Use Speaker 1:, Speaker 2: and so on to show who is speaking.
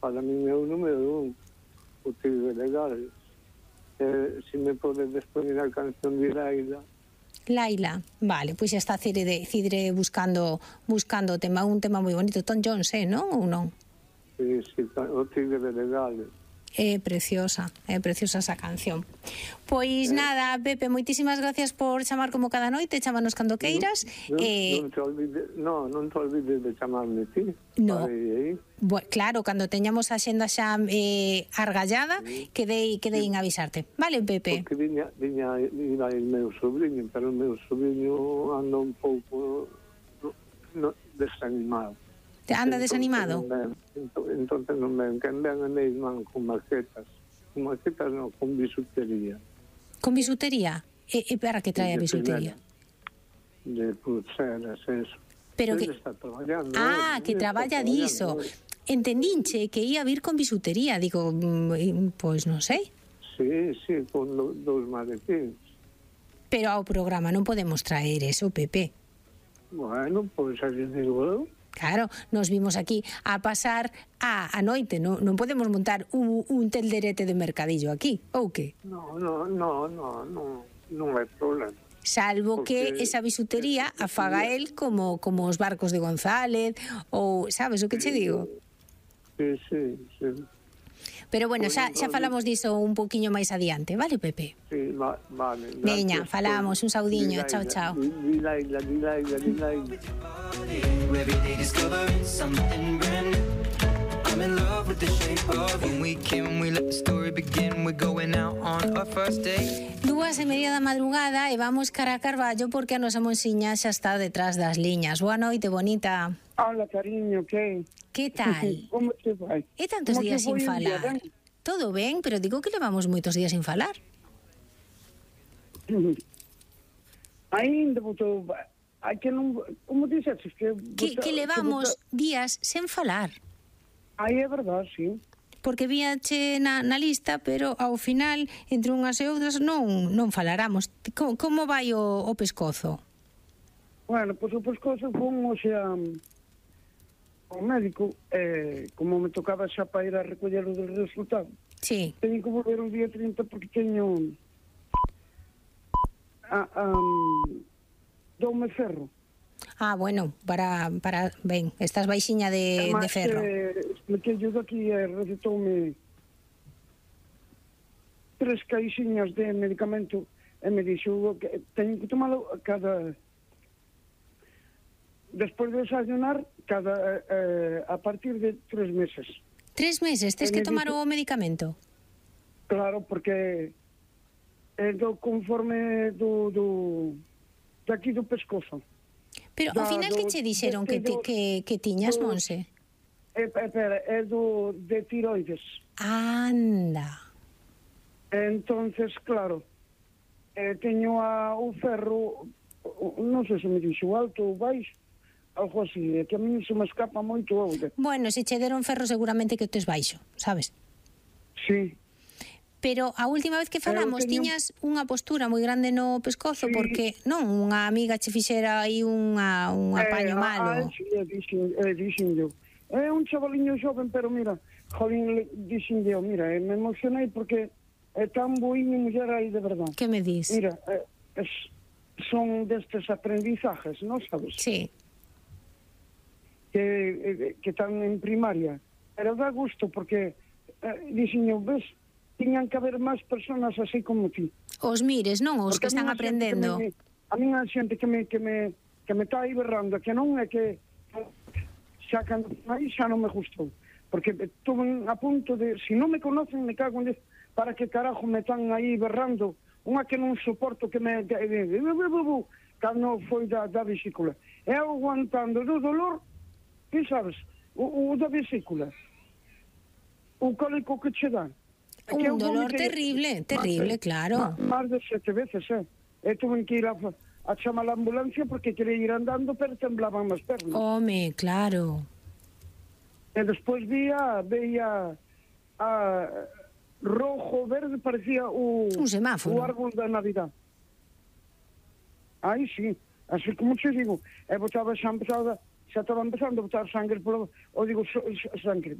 Speaker 1: para mí é o número 1, o Tigre Legal. Se me podes poñer a canción de Laila.
Speaker 2: Laila, vale, pois xa está Cidre buscando o tema, un tema moi bonito. Tom Jones, non? Ou non?
Speaker 1: Sí, o Tigre Legal.
Speaker 2: É preciosa esa canción. Pois nada, Pepe, moitísimas gracias por chamar como cada noite, chámanos cando queiras.
Speaker 1: Non te olvides de chamarme ti.
Speaker 2: No. Claro, cando teñamos a xenda xa argallada, quedei en avisarte. Vale, Pepe?
Speaker 1: Porque viña el meu sobrinho, pero o meu sobrinho anda un pouco desanimado.
Speaker 2: Te anda desanimado?
Speaker 1: Entonces non ven, que ven a meis man con maquetas non, con bisutería.
Speaker 2: Con bisutería? E para que trae a bisutería?
Speaker 1: De pulseras, eso.
Speaker 2: Pero que
Speaker 1: está traballando.
Speaker 2: Que traballa diso. Entendinche que ia vir con bisutería, digo, pois non sei.
Speaker 1: Sí, con dous maletines.
Speaker 2: Pero ao programa non podemos traer eso, Pepe.
Speaker 1: Bueno, pois así digo eu.
Speaker 2: Claro, nos vimos aquí a pasar a noite, non podemos montar un telderete de mercadillo aquí, ou que?
Speaker 1: Non é problema.
Speaker 2: Salvo que esa bisutería a faga el como os barcos de González, ou sabes o que che digo?
Speaker 1: Sí.
Speaker 2: Pero bueno, xa falamos diso un poquinho máis adiante, vale, Pepe?
Speaker 1: Sí, vale.
Speaker 2: Veña, falamos, un saudiño, chao.
Speaker 1: Di Laila.
Speaker 3: Every day discovering something brand new. I'm in love with the shape of you. When we came, we let the story begin. We're going out on our first date.
Speaker 2: 2:30 da madrugada e vamos cara a Carballo porque a nosa monsiña xa está detrás das liñas. Boa noite, bonita.
Speaker 4: Hola, cariño,
Speaker 2: que tal?
Speaker 4: Como te vai?
Speaker 2: E tantos días sin falar. Todo ben, pero digo que levamos moitos días sin falar.
Speaker 4: Ainda botou... Hai que non... Como dixes?
Speaker 2: Que levamos días sen falar.
Speaker 4: Aí é verdade, sí.
Speaker 2: Porque víache na lista, pero ao final, entre unhas e outras, non falaramos. Como vai o pescozo?
Speaker 4: Bueno, pois o pescozo fomos ao médico, como me tocaba xa para ir a recoller o del resultado.
Speaker 2: Sí.
Speaker 4: Teño que volver o día 30 porque teño... doume ferro.
Speaker 2: Bueno, para ben, estás baixiña de ferro.
Speaker 4: Expliquei yo daqui e recetoume 3 caixinhas de medicamento e me dixo que teño que tomalo cada... Despois de desayunar, a partir de 3 meses.
Speaker 2: 3 meses? Tes que tomar o medicamento?
Speaker 4: Claro, porque é conforme daqui do pescozo.
Speaker 2: Pero ao final que che dixeron que tiñas, Monse?
Speaker 4: Espera, é de tiroides.
Speaker 2: Anda.
Speaker 4: Entonces, claro, teño o ferro, non sei se me dixo alto ou baixo, algo así, que a mí se me escapa moito auga.
Speaker 2: Bueno, se che deron ferro seguramente que tes baixo, sabes?
Speaker 4: Sí.
Speaker 2: Pero a última vez que falamos tiñas unha postura moi grande no pescozo, porque non unha amiga che fixera aí un apaño malo.
Speaker 4: Dixen eu. É un chavaliño xoven, pero mira, jolín, dixen eu, mira, me emocionei porque é tan boinha muller aí de verdade.
Speaker 2: Que me dis?
Speaker 4: Mira, son destes aprendizajes, non sabes?
Speaker 2: Sí.
Speaker 4: Que están en primaria. Pero dá gusto porque, dixen eu, ves, tiñan que haber máis personas así como ti.
Speaker 2: Os mires, non? Os que están aprendendo.
Speaker 4: A mí a xente que me está aí berrando, que non é que xa cando aí xa non me gustou. Porque estuve a punto de, se non me conocen, me cago en para que carajo me están aí berrando. Unha que non soporto que me... Cando foi da vesícula. E aguantando do dolor, que sabes, o da vesícula. O cólico que che dan.
Speaker 2: Un dolor terrible, claro.
Speaker 4: Más de 7 veces, tuve que ir a chamar a ambulancia porque quería ir andando, pero temblaban as pernas.
Speaker 2: Home, claro.
Speaker 4: E despois veía a rojo, verde, parecía un semáforo. O árbol da Navidad. Aí sí, así como te digo, xa estaba empezando a botar sangre polo, ou digo, sangre,